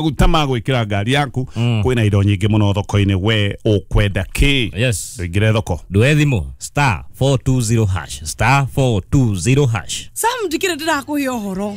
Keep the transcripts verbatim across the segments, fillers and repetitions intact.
Maguta ma gwĩkĩra ngari yaku, kwĩna indo nyingĩ mũno thoko-inĩ, we ũkwenda kĩ? Yes. Tũingĩre thoko. Ndũe thimũ star four two zero hash star four two zero hash. Sam, ndikire ndirakuhe ũhoro.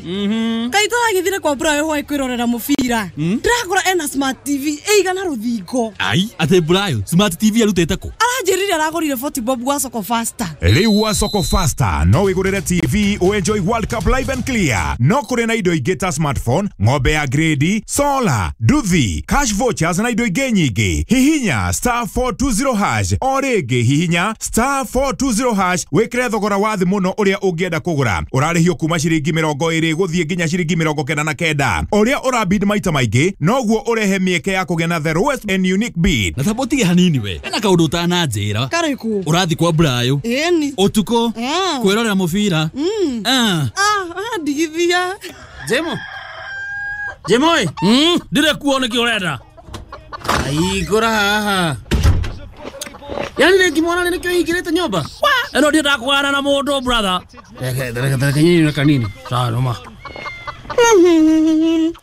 Kaĩ tũragĩthire kwa Brayo hwaĩ kwĩrorera mũbira, ndĩrakora ena smart T V ĩigana rũthingo. Ai, atĩ Brayo smart T V arutĩte kũ? Aranjĩrire aragũrire forty bob gwa Soko Faster. Rĩu wa Soko Faster no wĩgũrĩre T V ũenjoy World Cup live and clear. No kũrĩ na indo ingĩ ta smartphone, ng'ombe ya grade, solar, nduthi, cash vouchers na indo ingĩ nyingĩ. Hihinya star four two zero hash o rĩngĩ, hihinya star four two zero hash wĩkĩre thogora wa thĩ mũno ũrĩa ũngĩenda kũgũra. Ũrarĩhio kuma ciringi mĩrongo ĩrĩ gũthiĩ nginya ciringi mĩrongo kenda na kenda. Ũrĩa ũrabid maita maingĩ noguo ũrehe mĩeke ya kũgĩa na the lowest and unique bid. Na tamba ũtige hanini, we ena kaũndũ ũtananjĩra. Karĩkũ? Ũrathi kwa Brayo Ĩni. Ũtukũ Ah. kwĩrorera mũbira? Ah. Ah, ndigithia. Jemo. Jemo ĩ. Mm, ndire kuo nĩkĩ ũrenda? Aigũra haha. Yani rĩngĩ mwana nĩkĩo hingĩrĩte nyũmba? Ĩno ndiendaga kũgana na mũndũ, brother. Reke reke reke nyini na kanini. Sawa noma.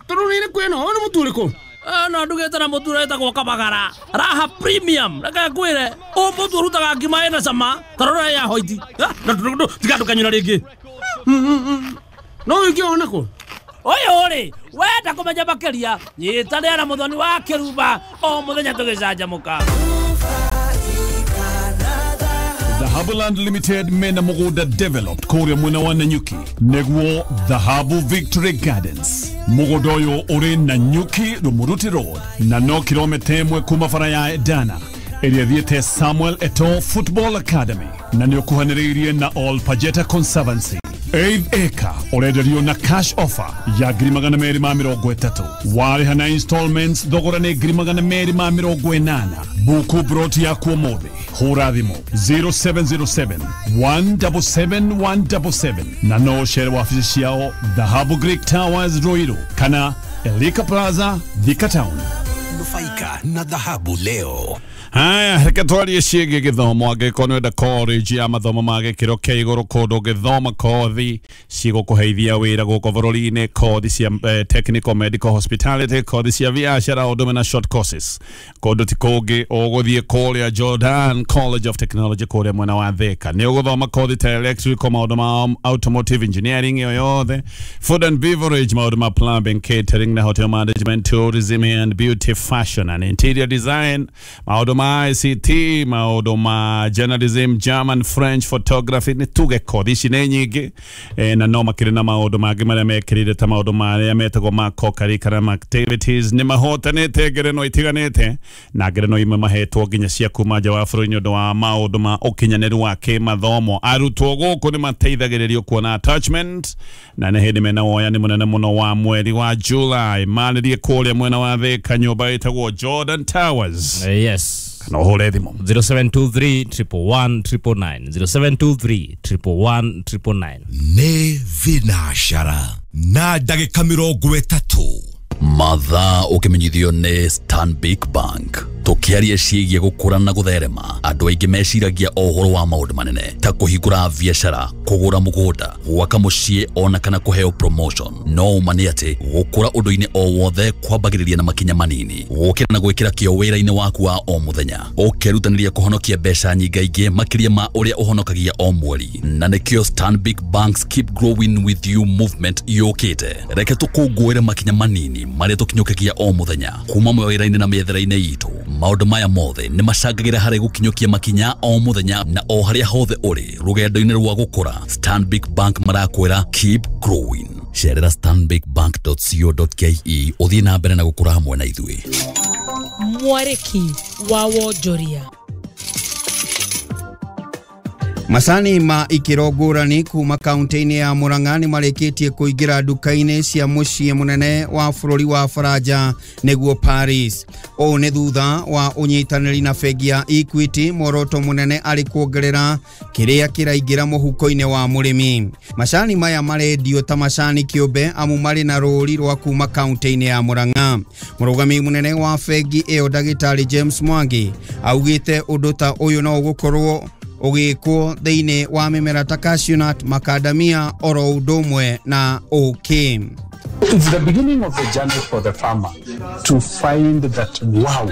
Tondũ nĩ ĩrĩkũ ĩno? Ũyũ nĩ mũtu ũrĩkũ? Ĩno ndugĩte na mũtu ũrĩa wĩtagwo Kabagara Raha Premium. Reke ngwĩre, ũyũ mũtu ũrutaga ngima ĩna cama ta rora ya hoiti. Tiga ndũkanyũra rĩngĩ. No ũngĩ ona kũ? Ũyũ rĩ, wenda kũmenya makĩria, nyitanĩra na Mũthoni wa Kĩrumba o mũthenya tũgĩcanjamũka. Dhahabuland Limited mena mũgũnda developed kũrĩa mwena wa Nanyuki, nĩguo Dhahabu Victory Gardens. Mũgũnda ũyũ ũrĩ Nanyuki Rumuruti Road na no kilomita ĩmwe kuma bara ya Edana ĩrĩa thiĩte Samuel Eto'o Football Academy, na nĩ ũkuhanĩrĩirie na All Pajeta Conservancy. Eighth acre ũrenderio na cash offer ya ngiri magana merĩ ma mĩrongo ĩtatũ. Warĩha na installments, thogora nĩ ngiri magana merĩ ma mĩrongo ĩnana. Buku broti yaku ũmũthĩ, hũra thimũ zero seven zero seven one seven seven one seven seven, na no ũcere wabici ciao Dhahabu Greek Towers, Ruiru, kana Elika Plaza, Thika Town. Nufaika na dhahabu leo. Haya, reke twarie ciĩgiĩ gĩthomo. Angĩkorwo nĩ wenda college ya mathomo ma gĩkĩro kĩa igũrũ, kũndũ ũngĩthoma kothi cigũkũheithia wĩra gũkũ bũrũri-inĩ, kothi cia eh, technical, medical, hospitality, kothi cia biacara, ũndũ ũmwe na short courses, kũndũ ti kũngĩ ũgũthiĩ kũrĩa Jordan College of Technology kũrĩa mwena wa Thika. Nĩ ũgũthoma kothi ta electrical, maũndũ ma automotive engineering ĩyo yothe, food and beverage, maũndũ ma plumbing, catering na hotel management, tourism and beauty, fashion and interior design, maũndũ ma I C T, maũndũ ma journalism, German, French, photography. Nĩ tuge kothi ici nĩ nyingĩ, eh, na no makĩrĩ na maũndũ mangĩ marĩa mekĩrĩire ta maũndũ marĩa metagwo ma co-curriculum activities. Nĩ mahotanĩte ngerenwa itiganĩte, na ngerenwa imwe mahetwo nginya cia kuma nja wa bũrũri nĩ ũndũ wa maũndũ ma ũkinyanĩru wa kĩmathomo. Arutwo gũkũ nĩ mateithagĩrĩrio kuona attachment, na nĩ hĩndĩ mena woyani mũnene mũno wa mweri wa July. Marĩrie kũrĩa mwena wa Thika, nyũmba ĩtagwo Jordan Towers. Eh, yes Kana ũhũre thimũ zero seven two three one one one nine nine, zero seven two three one one one nine nine. Nĩ thinacara na ndagĩka mĩrongo ĩtatũ. Mathaa ũkĩmenyithio nĩ Stanbic Bank. Tũkĩaria ciĩgiĩ gũkũra na gũtherema, andũ aingĩ meciragia o ũhoro wa maũndũ manene ta kũhingũra biacara, kũgũra mũgũnda, gwaka mũciĩ, ona kana kũheo promotion. No ũma nĩ atĩ gũkũra ũndũ-inĩ o wothe kwambagĩrĩria na makinya manini, gũkĩra na gwĩkĩra kĩo wĩra-inĩ waku wa o mũthenya, ũkerutanĩria kũhonokia mbeca nyingaingĩ makĩria ma ũrĩa ũhonokagia o mweri. Na nĩkĩo Stanbic Bank's Keep Growing With You movement yũkĩte. Reke tũkũngũĩre makinya manini marĩa tũkinyũkagia o mũthenya kuma mawĩra-inĩ na mĩethere-inĩ itũ. Maũndũ maya mothe nĩ macangagĩra harĩ gũkinyũkia makinya o mũthenya, na o harĩa hothe ũrĩ rũgendo-inĩ rwa gũkũra, Stanbic Bank marakwĩra keep growing. Cerera stanbicbank dot co dot ke ũthiĩ na mbere na gũkũra hamwe na ithuĩ. Mwarĩki wa wonjoria. Macani ma ikĩro ngũrani kuma kaunti-inĩ ya Murang'a nĩ marĩkĩtie kũingĩra nduka-inĩ cia mũciĩ mũnene wa bũrũri wa Faranja, nĩguo Paris. Ũũ nĩ thutha wa ũnyitanĩri na bengi ya Equity, muoroto mũnene arĩ kuongerera kĩrĩa kĩraingĩra mũhuko-inĩ wa mũrĩmi. Macani maya marendio ta macani kĩũmbe amu marĩ na rũri rwa kuma kaunti-inĩ ya Murang'a. Mũrũgamĩrĩri mũnene wa bengi ĩyo, ndagĩtarĩ James Mwangi, augĩte ũndũ ta ũyũ no ũgũkorwo ũgĩkwo thĩinĩ wa mĩmera ta cashew nut, macadamia, oro ũndũ ũmwe na ũkĩ. It's the beginning of the journey for the farmer to find that, wow,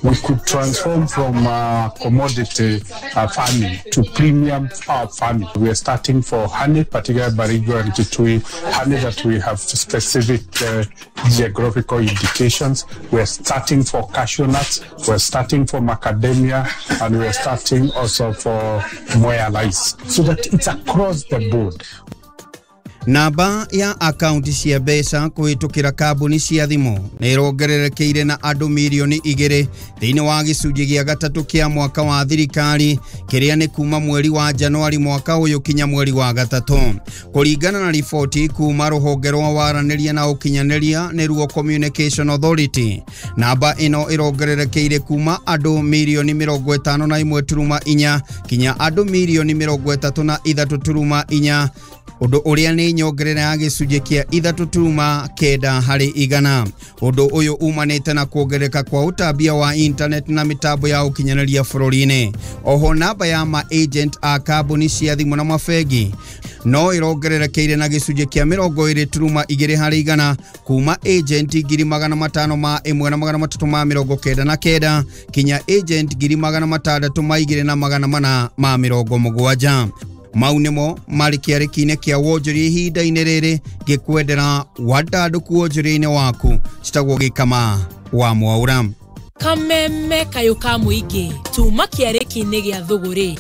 we could transform from uh, commodity uh, farming to premium uh, farming. We are starting for honey, particularly Baringo and Kitui, honey that we have specific uh, geographical indications. We are starting for cashew nuts, we are starting for macadamia, and we are starting also for Mwea rice, so that it's across the board. Namba ya akaunti cia mbeca kũhĩtũkĩra kambuni cia thimũ nĩ ĩrongererekeire na andũ mirioni igĩrĩ thĩinĩ wa gĩcunjĩ gĩa gatatũ kĩa mwaka wa thirikari kĩrĩa nĩ kuma mweri wa Januari mwaka ũyũ kinya mweri wa gatatũ, kũringana na riboti kuma rũhonge rwa waranĩria na ũkinyanĩria nĩruo Communication Authority. Namba ĩno ĩrongererekeire kuma andũ mirioni mĩrongo ĩtano na ĩmwe turuma inya kinya andũ mirioni mĩrongo ĩtatũ na ithatũ turuma inya, undu uria ni nyongerera ya gĩcunjĩ kĩa ithatũ turuma kenda harĩ igana. Undu uyu umanĩte na kuongerereka kwa ũtambia wa internet na mĩtambo ya ũkinyanĩria bũrũri-inĩ. Oho namba ya ma agent a kambuni cia thimũ na mabengi no ĩrongererekeire na gĩcunjĩ kĩa mĩrongo ĩrĩ turuma igĩrĩ harĩ igana kuma agent ngiri magana matano ma ĩmwe na magana matatũ ma mĩrongo kenda na kenda kinya agent ngiri magana matandatũ ma igĩrĩ na magana mana ma mĩrongo mũgwanja. Mau nĩmo marĩ kĩarĩki-inĩ kĩa wonjoria ihinda-inĩ rĩrĩ ngĩkwendera wandandũku wonjoria-inĩ waku. Citagwo Gĩkama wa Mwaura. Kameme kayũ ka mũingĩ tuma kĩarĩki-inĩ gĩa thũgũrĩ.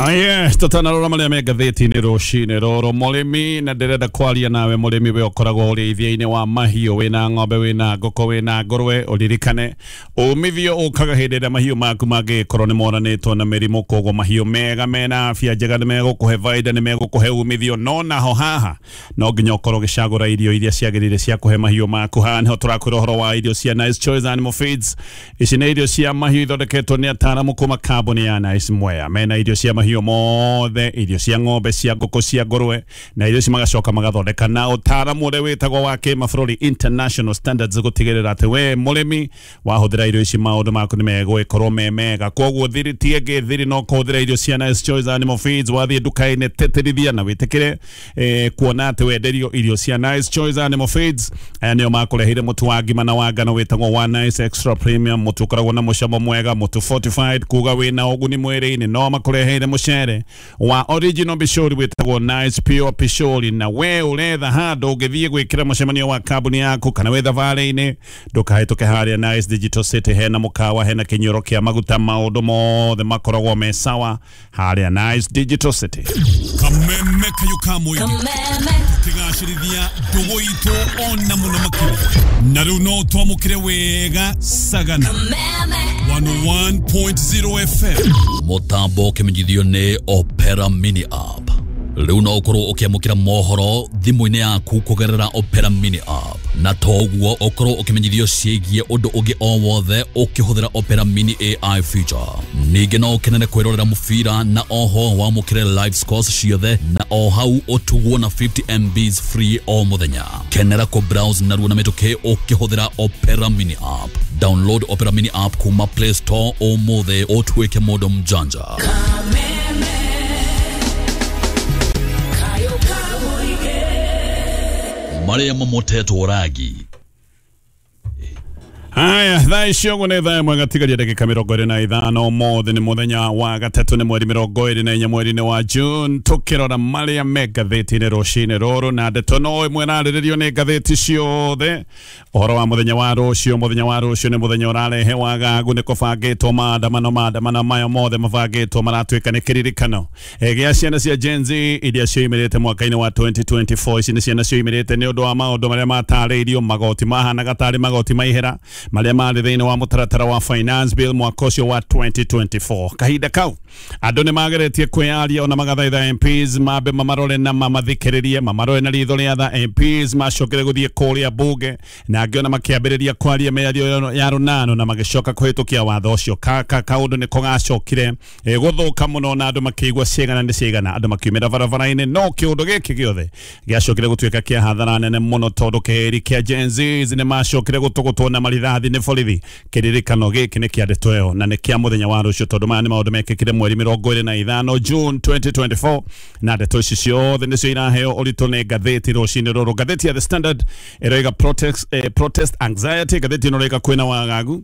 Aye, tutanarora maria me ngathĩti-inĩ rũcinĩ rũrũ. Mũrĩmi, na ndĩrenda kwaria nawe mũrĩmi, we ũkoragwo ũrĩithia-inĩ wa mahiũ, wĩna ng'ombe, wĩna ngũkũ, wĩna ngũrwe, ũririkane umithio ũkaga hĩndĩ ĩrĩa mahiũ maku mangĩkorwo nĩ moranĩtwo na mĩrimũ. Koguo mahiũ mega mena afya njega nĩ megũkũhe baida, nĩ megũkũhe umithio. No naho haha no nginya ũkorwo ũgĩcagũra irio iria ciagĩrĩire cia kũhe mahiũ maku. Haha nĩho tũrakwĩra ũhoro wa irio cia Nice Choice Animal Feeds. Ici nĩ irio cia mahiũ ithondeketwo nĩ ataaramu kuma kambuni ya Nice Mwea. Mena irio cia mahiũ mothe, irio cia ng'ombe, cia ngũkũ, cia ngũrwe, na irio ici magacoka magathondeka na ũtaaramu ũrĩa wĩtagwo wa kĩmabũrũri international standards, gũtigĩrĩra atĩ we mũrĩmi wahũthĩra irio ici maũndũ maku nĩ megũgĩkorwo me mega. Koguo thiri ti ĩngĩ, thiri no kũhũthĩra irio cia Nice Choice Animal Feeds. Wathiĩ nduka-inĩ tĩtĩrithia na wĩtĩkĩre eh, kuona atĩ wenderio irio cia Nice Choice Animal Feeds. Aya nĩo makũreheire mũtu wa ngima na wa ngano wĩtagwo wa Nice Extra Premium, mũtu ũkoragwo na mũcamo mwega, mũtu fortified kuga wĩna ũguni mwĩrĩ-inĩ. No makũreheire mũcere wa original bishori wĩtagwo Nice Pure Pishori. Na we ũretha handũ ũngĩthiĩ gwĩkĩra mũcemanio wa kambuni yaku kana wĩ thabarĩ-inĩ, ndũkahĩtũke harĩa Nice Digital City. Hena mũkawa, hena kĩnyuĩro kĩa maguta, maũndũ mothe makoragwo me sawa harĩa Nice Digital City. Kameme kayũ ka mũingĩ tũkĩgacĩrithia ndũgũ itũ ona mũno makĩria, na rĩu no twamũkĩre wega Sagana one oh one point zero F M. Mũtambo ũkĩmenyithio nĩ Opera Mini App. Rĩu no ũkorwo ũkĩamũkĩra mohoro thimũ-inĩ yaku kũgerera Opera Mini App, na toguo ũkorwo ũkĩmenyithio ciĩgiĩ ũndũ ũngĩ o wothe ũkĩhũthĩra Opera Mini A I feature. Ningĩ no ũkenere kwĩrorera mũbira na oho wamũkĩre live scores ciothe, na o hau ũtugwo na fifty M Bs free o mũthenya. Kenera kũ browse narua na mĩtũkĩ ũkĩhũthĩra Opera Mini App. Download Opera Mini App kuma Play Store ũmũthĩ ũtuĩke mũndũ mjanja. Maria mamotetwo ragi. Haya, thaa icio ũguo nĩ thaa ĩmwe gatigaria ndagĩka mĩrongo ĩrĩ na ithano. Ũmũthĩ nĩ mũthenya wa gatatũ, nĩ mweri mĩrongo ĩrĩ na inya mweri-inĩ wa June. Tũkĩrora marĩa me ngathĩti-inĩ rũcinĩ rũrũ, na ndeto no ĩmwe ĩrarĩrĩrio nĩ ngathĩti ciothe, ũhoro wa mũthenya wa rũciũ. Mũthenya wa rũciũ nĩ mũthenya ũrarehe wagagu, nĩ kũbangĩtwo maandamano. Maandamano maya mothe mabangĩtwo maratuĩka nĩ kĩririkano gĩa ciana cia Gen Z iria cioimĩrĩte mwaka-inĩ wa twenty twenty-four. Ici nĩ ciana cioimĩrĩte nĩ ũndũ wa maũndũ marĩa matarĩirio, magoti mahanaga tarĩ magoti ma ihera marĩa marĩ thĩinĩ wa mũtaratara wa finance bill mwaka ũcio wa twenty twenty-four. Kahinda kau andũ nĩ mageretie kwĩyaria ona magathaitha M Ps mambe mamarore na mamathikĩrĩrie, mamarore na ritho rĩa tha. M Ps macokire gũthiĩ kũrĩa bunge na angĩ ona makĩambĩrĩria kwaria mĩario ya rũnano na magĩcoka kũhĩtũkia watho ũcio. Ka kaũndũ nĩko gacokire gũthũka mũno na andũ makĩigua ciĩgana nĩ ciĩgana, andũ makiumĩra barabara-inĩ. No kĩũndũ gĩkĩ gĩothe gĩacokire gũtuĩka kĩa hathara nene mũno, tondũ kĩhĩri kĩa Gen Z nĩ macokire gũtũgũtwo na marithathi. rithathi nĩ borithi. Kĩririkano gĩkĩ nĩ kĩa ndeto ĩyo na nĩ kĩa mũthenya wa rũciũ, tondũ maya nĩ maũndũ mekĩkire mweri mĩrongo ĩrĩ na ithano June twenty twenty-four, na ndeto ici ciothe nĩcio iraheo ũritũ nĩ ngathĩti rũcinĩ rũrũ. Ngathĩti ya The Standard ĩroiga protest, eh, protest anxiety. Ngathĩti ĩno ĩroiga kwĩna wagagu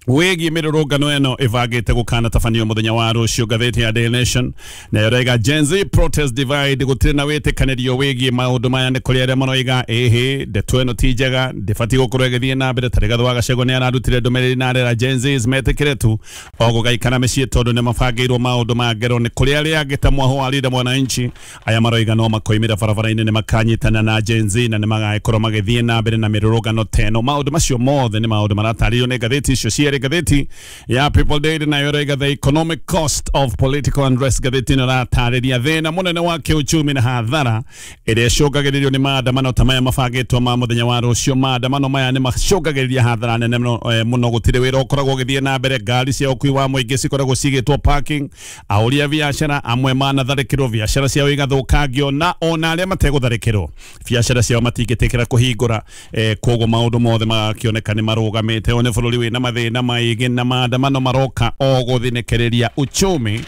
wĩgiĩ mĩrũrũngano ĩno ĩbangĩte gũkanatabanio mũthenya wa rũciũ. Ngathĩti ya Daily Nation nayo ĩroiga Gen Z protest divide, gũtirĩ na wĩtĩkanĩrio wĩgiĩ maũndũ maya. Nĩ kũrĩ arĩa maroiga ĩhĩ ndeto ĩno ti njega, ndĩbatiĩ gũkorwo ĩgĩthiĩ na mbere. Ta Rigathĩ wa Gachagua nĩ ararutire ndũmĩrĩri na arera Gen Zs metĩkĩre tu o gũgaikara mĩciĩ tondũ nĩ mabangĩirwo maũndũ ma ngero. Nĩ kũrĩ arĩa angĩ ta Mwaho wa Linda Mwananchi aya maroiga no makoimĩra barabara-inĩ, nĩ makanyitana na Gen Z na nĩ magagĩkorwo magĩthiĩ na mbere na mĩrũrũngano ta ĩno. Maũndũ macio mothe nĩ maũndũ maratarĩrio nĩ ngathĩti icio cierĩ. Ngathĩti ya People Daily nayo ĩroiga the economic cost of political unrest. Ngathĩti ĩno ĩratarĩria thĩna mũnene wa kĩuchumi na hathara ĩrĩa ĩcũngagĩrĩrio nĩ maandamano ta maya mabangĩtwo ma mũthenya wa rũciũ. Maandamano maya nĩ macũngagĩrĩria hathara nene mũno, gũtirĩ wĩra ũkoragwo ũgĩthiĩ na mbere, ngari cia ũkui wa mũingĩ cikoragwo cigĩtwo parking, ahũri a biacara amwe manatharĩkĩrwo, biacara ciao igathũkangio, na ona arĩa mategũtharĩkĩrwo biacara ciao matingĩtĩkĩra kũhingũra. eh, koguo maũndũ mothe magakĩoneka nĩ marũgamĩte. Ũyũ nĩ bũrũri wĩna mathĩna maingĩ na maandamano maroka o gũthinĩkĩrĩria uchumi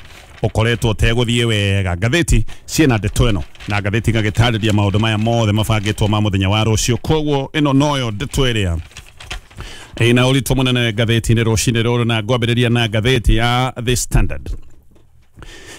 ũkoretwo ũtegũthiĩ wega. Ngathĩti ciĩna ndeto ĩno na ngathĩti igagĩtarĩria maũndũ maya mothe mabangĩtwo ma mũthenya wa rũciũ. Koguo ĩno noyo ndeto ĩrĩa ĩna ũritũ mũnene ngathĩti-inĩ rũcinĩ rũrũ, na ngwambĩrĩria na ngathĩti ya The Standard.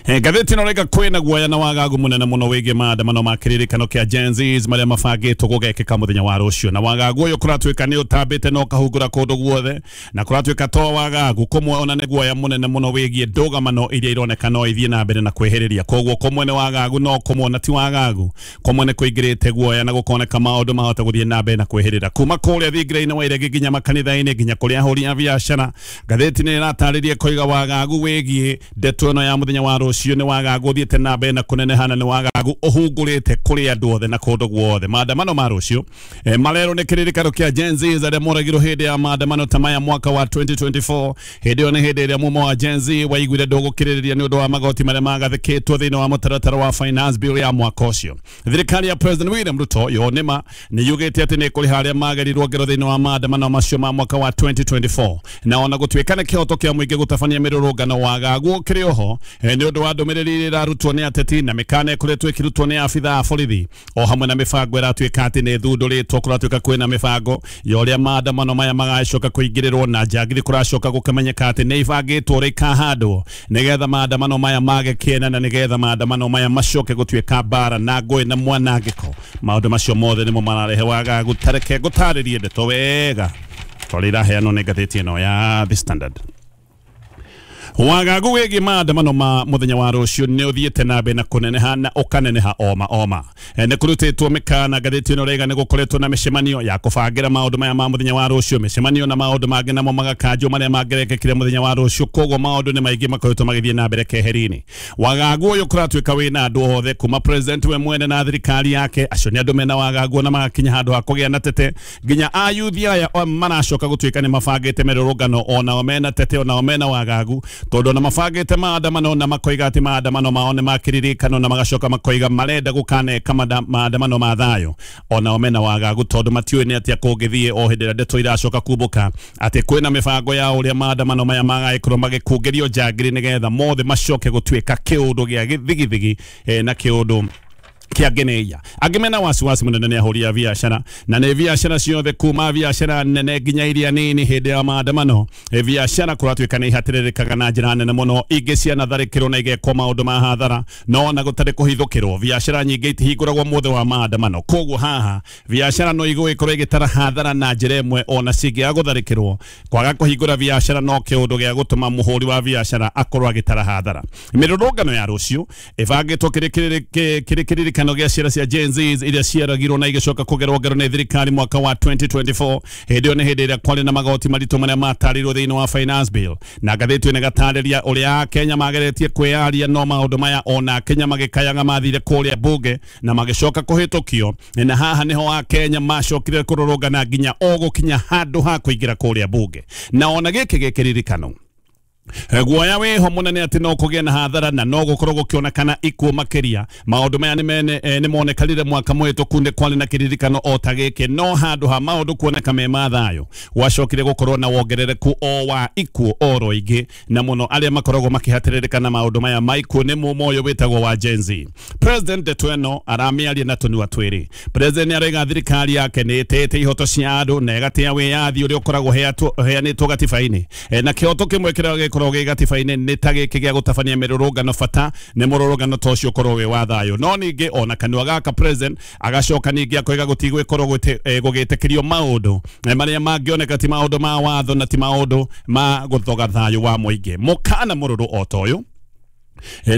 Ngathĩti ĩno ĩroiga kwĩna guoya na wagagu mũnene mũno wĩgiĩ maandamano ma kĩririkano kĩa Gen Zs marĩa mabangĩtwo gũgekĩka mũthenya wa rũciũ. Na wagagu ũyũ kũratuĩka nĩ ũtambĩte na ũkahungura kũndũ guothe, na kũratuĩka to wagagu kũmwe ona nĩ guoya mũnene mũno wĩgiĩ ndũgamano iria ironeka no ithiĩ na mbere na kwĩhĩrĩria. Koguo kũmwe nĩ wagagu no kũmwe ona ti wagagu, kũmwe nĩ kũingĩrĩte guoya na gũkoneka maũndũ mahota gũthiĩ na mbere na kwĩhĩrĩra kuma kũrĩa thingira-inĩ wa iregi nginya makanitha-inĩ nginya kũrĩa ahũri a biacara. Ngathĩti nĩ ĩratarĩria koiga wagagu wĩgiĩ ndeto ĩno ya mũthenya wa rũciũ nĩ wagagu ũthiĩte na mbere na kũnenehana, nĩ wagagu ũhungũrĩte kũrĩ andũ othe na kũndũ guothe. Maandamano ma rũciũ eh, marerwo nĩ kĩririkano kĩa Gen Z arĩa moragirwo hĩndĩ ya maandamano ta maya mwaka wa twenty twenty-four. Hĩndĩ ĩyo nĩ hĩndĩ ĩrĩa mumo wa Gen Z waiguire ndũgũkĩrĩrĩria nĩ ũndũ wa magoti marĩa magathĩkĩtwo thĩinĩ wa mũtaratara wa finance bill ya mwaka ũcio. Thirikari ya President William Ruto yo nĩma nĩ yugĩte atĩ nĩ ĩkũrĩha arĩa magerirwo ngero thĩinĩ wa maandamano macio ma mwaka wa twenty twenty-four, na ona gũtuĩka nĩ kĩhoto kĩa mũingĩ gũtabania mĩrũrũngano wagagu ũkĩrĩ oho nĩ ũndũ wa ndũmĩrĩri iria ĩrarutwo nĩ ateti na mĩkana ĩkoretwo ĩkĩrutwo nĩ abithaa a borithi o hamwe na mĩbango ĩratuĩka atĩ nĩ ĩthundũrĩtwo. Kũratuĩka kwĩna mĩbango ya ũrĩa maandamano maya magacoka kũingĩrĩrwo na njangiri kũracoka gũkamenyeka atĩ nĩ ibangĩtwo ũrĩa ikahandwo nĩgetha maandamano maya mage kĩene na nĩgetha maandamano maya macoke gũtuĩka mbara na ngũĩ na mwanangĩko. Maũndũ macio mothe nĩmo mararehe wagagu. Tareke ngũtarĩrie ndeto wega tondũ iraheanwo nĩ ngathĩti ĩno ya The Standard. Wagagu wĩgiĩ maandamano ma mũthenya wa rũciũ nĩ ũthiĩte na mbere na kũneneha na ũkaneneha oma oma. Nĩ kũrutĩtwo mĩkana. Ngathĩti ĩno ĩroiga nĩ gũkoretwo na mĩcemanio ya kũbangĩra maũndũ maya ma mũthenya wa rũciũ, mĩcemanio na maũndũ mangĩ namo magakanjwo marĩa mangĩrekĩkire mũthenya wa rũciũ. Koguo maũndũ nĩ maingĩ makoretwo magĩthiĩ na mbere keheri-inĩ. Wagagu ũyũ kũratuĩka wĩna andũ othe kuma president we mwene na thirikari yake, acio nĩ andũ mena wagagu na magakinya handũ ha kũgĩa na tete, nginya ayuthi aya maracoka gũtuĩka nĩ mabangĩte mĩrũrũngano onao mena tete onao mena wagagu, tondũ na mabangĩte maandamano na makoiga atĩ maandamano mao nĩ makĩririkano na magacoka makoiga marenda gũkaneka maandamano ma thayũ, onao mena wagagu tondũ matiũĩ nĩ atĩa kũngĩthiĩ o hĩndĩ ĩrĩa ndeto iracoka kumbũka atĩ kwĩna mĩbango ya ũrĩa maandamano maya magagĩkorwo magĩkũngĩrio njangiri nĩgetha mothe macoke gũtuĩka kĩũndũ gĩa gĩthigithigi na kĩũndũ kĩangeneia. Angĩ mena wasiwasi mũnene nĩ ahũri a biacara, na nĩ biacara ciothe kuma biacara nene nginya iria nini. Hĩndĩ ya maandamano biacara kũratuĩka nĩ ihatĩrĩrĩkaga na njĩra nene mũno, ingĩ cianatharĩkĩrwo na igekwo maũndũ ma hathara, no ona gũtarĩ kũhithũkĩrwo biacara nyingĩ itihingũragwo mũthĩ wa maandamano. Koguo haha biacara no igũgĩkorwo ĩgĩtara hathara na njĩra ĩmwe ona cingĩaga gũtharĩkĩrwo. Kwaga kũhingũra biacara no kĩũndũ gĩa gũtũma mũhũri wa biacara akorwo agĩtara hathara. Mĩrũrũngano ya rũciũ ĩbangĩtwo kĩrĩ kĩririkano gĩa ciana cia Gen Z iria ciaragirwo na igĩcoka kũgerwo ngero nĩ thirikari mwaka wa twenty twenty-four. Hĩndĩ ĩyo nĩ hĩndĩ ĩrĩa kwarĩ na magoti maritũ marĩa matarĩirwo thĩinĩ wa finance bill, na ngathĩti ĩno ĩgatarĩria ũrĩa Akenya mageretie kwĩyaria no maũndũ maya ona Akenya magĩkayaga mathire kũrĩa bunge na magĩcoka kũhĩtũkio, na haha nĩho Akenya macokire kũrũrũngana nginya o gũkinya handũ ha kũingĩra kũrĩa bunge. Na ona gĩkĩ gĩkĩririkano Guoya wĩho mũnene atĩ no kũgĩe na hathara na no gũkorwo gũkĩonekana ikuũ makĩria. Maũndũ maya nĩ monekanire mwaka mũhĩtũku nĩ kwarĩ na kĩririkano o ta gĩkĩ, no handũ ha maũndũ kuoneka me ma thayũ gwacokire gũkorwo na wongerereku o wa ikuũ oro ingĩ, na mũno arĩa makoragwo makĩhatĩrĩrĩka na maũndũ maya ma ikuũ nĩ mũmo ũyũ wĩtagwo wa Gen Z. President ndeto ĩno aramĩaria na tũnua twĩrĩ. President nĩarauga thirikari yake nĩ ĩtĩĩte ihoto cia andũ na ĩgatĩa wĩyathi ũrĩa ũkoragwo ũheanĩtwo gatiba-inĩ, na kĩhoto kĩmwe kĩrĩa gĩkoragwo gĩ gatiba-inĩ nĩ ta gĩkĩ gĩa gũtabania mĩrũrũngano, bata nĩ mũrũrũngano ta ũcio ũkorwo wĩ wa thayũ. No ningĩ ona kanua gaka president agacoka ningĩ akoiga gũtigwĩkorwo gũgĩtĩkĩrio maũndũ marĩa mangĩoneka ti maũndũ ma watho na ti maũndũ ma gũthoga thayũ wa mũingĩ. Mũkana mũrũrũ o ta ũyũ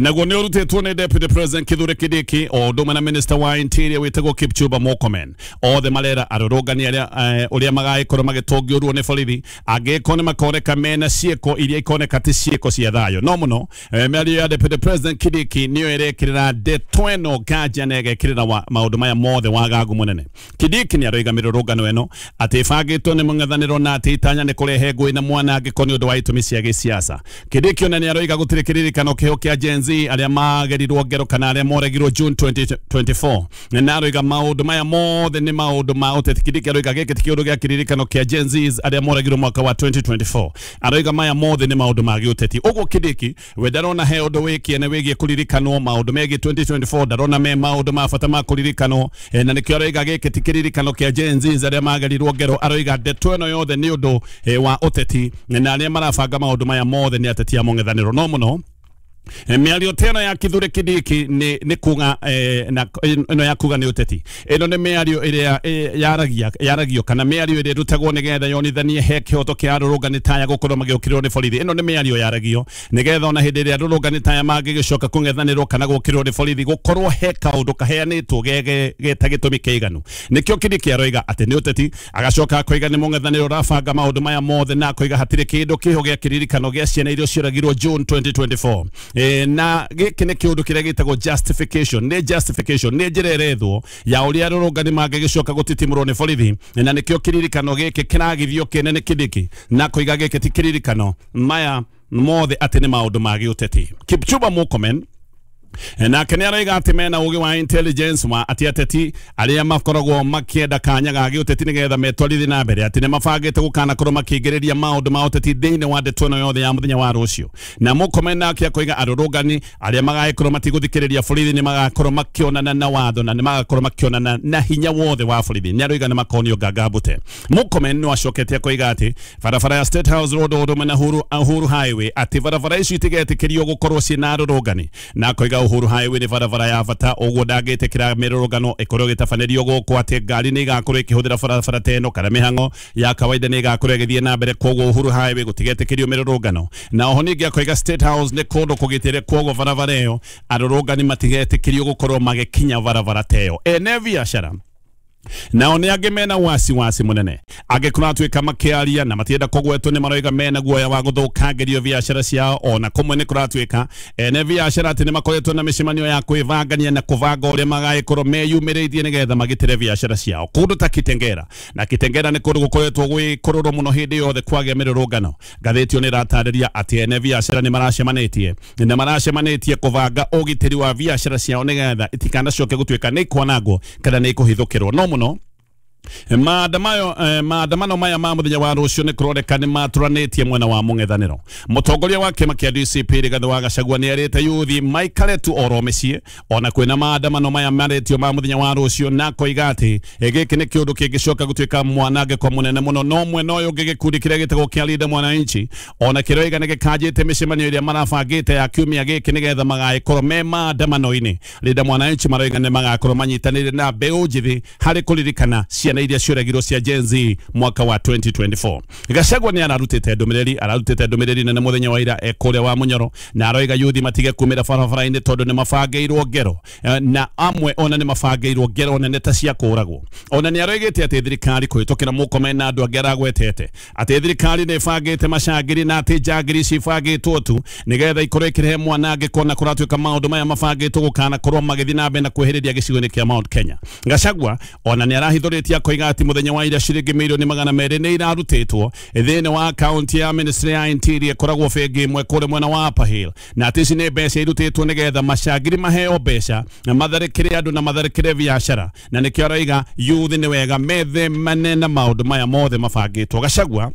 naguo nĩ ũrutĩtwo nĩ Deputy President Kithure Kindiki o ũndũ ũmwe na Minister wa Interior wĩtagwo Kipchumba Murkomen. Othe marera arũrũngani arĩa ũrĩa magagĩkorwo magĩtũngĩũrwo nĩ borithi angĩkorwo nĩ makoneka mena ciĩko iria ikoneka ti ciĩko cia thayũ. No mũno mĩario ya Deputy President Kindiki nĩyo ĩrekĩrĩra ndeto ĩno nganja na ĩgekĩrĩra maũndũ maya mothe wagagu mũnene. Kindiki nĩ aroiga mĩrũrũngano ĩno atĩ ĩbangĩtwo nĩ mũng'ethanĩro na atĩ itanya nĩ kũrehe ngũĩ na mwanangĩko nĩ ũndũ wa itũmi cia gĩsiasa. Kindiki ona nĩ aroiga gũtirĩ kĩririkano kĩho kĩa Gen Z arĩa magerirwo ngero kana arĩa moregirwo June twenty twenty-four, na aroiga maũndũ maya mothe nĩ maũndũ ma ũteti. Kindiki aroiga gĩkĩ ti kĩũndũ gĩa kĩririkano kĩa Gen Z arĩa moregirwo mwaka wa twenty twenty-four, aroiga maya mothe nĩ maũndũ ma gĩũteti. Ũguo Kindiki we ndarona he ũndũ wĩ kĩene wĩgiĩ kũririkanwo maũndũ megiĩ twenty twenty-four, ndarona me maũndũ ma bata ma kũririkanwo, na nĩkĩo aroiga gĩkĩ ti kĩririkano kĩa Gen Z arĩa magerirwo ngero. Aroiga ndeto ĩno yothe nĩ ũndũ wa ũteti na arĩa marabanga maũndũ maya mothe nĩ ateti a mũng'ethanĩro. No mũno mĩario teno ya Kithure Kindiki nĩ nĩ kuga na ĩno ya kuga nĩ ũteti. Ĩno nĩ mĩario ĩrĩa yaragia yaragio kana mĩario ĩrĩa ĩrutagwo nĩgetha yonithanie he kĩhoto kĩa arũrũngani taya gũkorwo magĩũkĩrĩrwo nĩ borithi. Ĩno nĩ mĩario yaragio nĩgetha ona hĩndĩ ĩrĩa arũrũngani taya mangĩgĩcoka kũng'ethanĩrwo kana gũũkĩrĩrwo nĩ borithi gũkorwo he kaũndũ kaheanĩtwo geta gĩtũmi kĩiganu. Nĩkĩo Kindiki aroiga atĩ nĩ ũteti, agacoka akoiga nĩ mũng'ethanĩro ũrabanga maũndũ maya mothe, na akoiga hatirĩ kĩndũ kĩho gĩa kĩririkano gĩa ciana iria cioragirwo June twenty twenty-four. Na gĩkĩ nĩ kĩũndũ kĩrĩa gĩtagwo justification. Nĩ justification, nĩ njĩra ĩrethwo ya ũrĩa arũrũngani mangĩgĩcoka gũtitimũrwo nĩ borithi, na nĩkĩo kĩririkano gĩkĩ kĩragithio kĩene nĩ Kindiki na koiga gĩkĩ ti kĩririkano, maya mothe atĩ nĩ maũndũ ma gĩũteti. Kipchumba Murkomen nake nĩ aroiga atĩ mena ũgĩ wa intelligence wa atĩ ateti arĩa makoragwo makĩenda kanya ga gĩũteti nĩgetha metwarithie na mbere atĩ nĩ mabangĩte gũkanakorwo makĩingĩrĩria maũndũ ma ũteti thĩinĩ wa ndeto ĩno yothe ya mũthenya wa rũciũ. Na Murkomen nake akoiga arũrũngani arĩa magagĩkorwo matigũthikĩrĩria borithi nĩ magakorwo makĩonana na watho na nĩ magakorwo makĩonana na hinya wothe wa borithi. Nĩ aroiga nĩ makonio nganga mbute. Murkomen no acokete akoiga atĩ barabara ya State House Road ũndũ ũmwe na Uhuru Highway atĩ barabara icio itigetĩkĩrio gũkorwo ciĩna arũrũngani, na akoiga Uhuru Highway nĩ barabara ya bata ũguo ndangĩtĩkĩra mĩrũrũngano ĩkorwo ĩgĩtabanĩrio gũkũ atĩ ngari nĩ igakorwo ĩkĩhũthĩra barabara ta ĩno kana mĩhang'o ya kawaida nĩ ĩgakorwo ĩgĩthiĩ na mbere, koguo Uhuru Highway gũtigetĩkĩrio mĩrũrũngano. Na oho ningĩ akoiga State House nĩ kũndũ kũgitĩre, koguo barabara ĩyo arũrũngani matigetĩkĩrio gũkorwo magĩkinya barabara ta ĩyo. Ene biacara nao nĩ angĩ mena wasiwasi mũnene angĩkorwo atuĩka makĩaria na matienda kũgwetwo nĩ maroiga mena guoya wa gũthũkangĩrio biacara ciao. Ona kũmwe nĩ kũratuĩka ene biacara atĩ nĩ makoretwo na mĩcemanio ya kwĩbangania na kũbanga ũrĩa magagĩkorwo meyumĩrĩtie nĩgetha magitĩre biacara ciao kũndũ ta Kitengera. Na Kitengera nĩ kũndũ gũkoretwo gwĩ kũrũrũ mũno hĩndĩ yothe kwagĩa mĩrũrũngano. Ngathĩti ĩyo nĩ ĩratarĩria atĩ ene biacara nĩ maracemanĩtie nĩ maracemanĩtie kũbanga ũgitĩri wa biacara ciao nĩgetha itikanacoke gũtuĩka nĩ ikwanangwo kana nĩ ikũhithũkĩrwo. No mũno maandamano maandamano maya ma muthenya wa rucio ni kuroneka ni maturanĩtie mwena wa mũng'ethanĩro. Mũtongoria wa kĩama kĩa D C P Rigathĩ wa Gachagua nĩ erĩte yuthi maikare tu oro mĩciĩ ona kwĩna maandamano maya marĩtio ma mũthenya wa rũciũ, na koiga atĩ gĩkĩ nĩ kĩũndũ kĩngĩcoka gũtuĩka mwanangĩko mũnene mũno. No mwena ũyũ ũngĩ gĩkundi kĩrĩa gĩtagwo kĩa Linda Mwananchi ona kĩroiga nĩ gĩkanjĩte mĩcemanio ĩrĩa marabangĩte ya kiumia gĩkĩ nĩgetha magagĩkorwo me maandamano-inĩ. Linda Mwananchi maroiga nĩ magakorwo manyitanĩire na mbeũ njĩthĩ harĩ kũririkana ciana iria cioragirwo cia Gen Z mwaka wa twenty twenty-four. Gachagua nĩ ararutĩte ndũmĩrĩri ararutĩte ndũmĩrĩri nene mũthenya wa ira kũrĩa wa Munyoro, na aroiga yuthi matige kumĩra barabara-inĩ tondũ nĩ mabangĩirwo ngero, na amwe ona nĩ mabangĩirwo ngero nene ta cia kũragwo. Ona nĩ aroigĩte atĩ thirikari kũhĩtũkĩra Murkomen na andũ angĩ aragwetete atĩ thirikari nĩ ĩbangĩte macangĩri na atĩ njangiri cibangĩtwo tu nĩgetha ikorwo ikĩrehe mwanangĩko na kũratuĩka maũndũ maya mabangĩtwo gũkanakorwo magĩthiĩ na mbere na kwĩhĩrĩria gĩcigo-inĩ kĩa Mount Kenya. Gachagua ona nĩ arahithũrĩtie akoiga atĩ mũthenya wa ira ciringi mirioni magana merĩ nĩ irarutĩtwo thĩinĩ wa akaunti ya ministry ya interior ĩkoragwo bengi ĩmwe kũrĩa mwena wa Upper Hill, na atĩ ici nĩ mbeca irutĩtwo nĩgetha macangiri maheo mbeca na matharĩkĩre andũ na matharĩkĩre biacara, na nĩkĩo araiga youth nĩ wega methemane na maũndũ maya mothe mabangĩtwo. Gachagua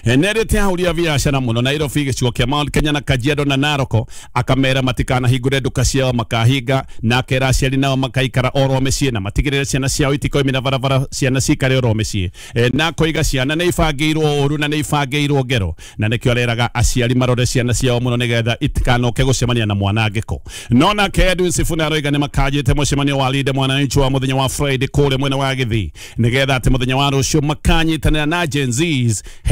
nerete ahũri a biacara mũno Nairobi, gĩcigo kĩa Mount Kenya na Kajiado na Narok, akamera matikanahingũre nduka ciao makahinga, na akera aciari nao makaikara oro mĩciĩ na matigĩrĩre ciana ciao itikoimĩra barabara, ciana cikare oro mĩciĩ. E, na akoiga ciana nĩ ibangĩirwo ũru na nĩ ibangĩirwo ngero, na nĩkĩo areraga aciari marore ciana ciao mũno nĩgetha itikanoke gũcemania na mwanangĩko. No nake Edwin Sifuna aroiga nĩ makanjĩte mũcemanio wa Linda Mwananchi wa mũthenya wa Friday kũrĩa mwena wa Gĩthii nĩgetha atĩ mũthenya wa rũciũ makanyitanĩra na Gen Zs.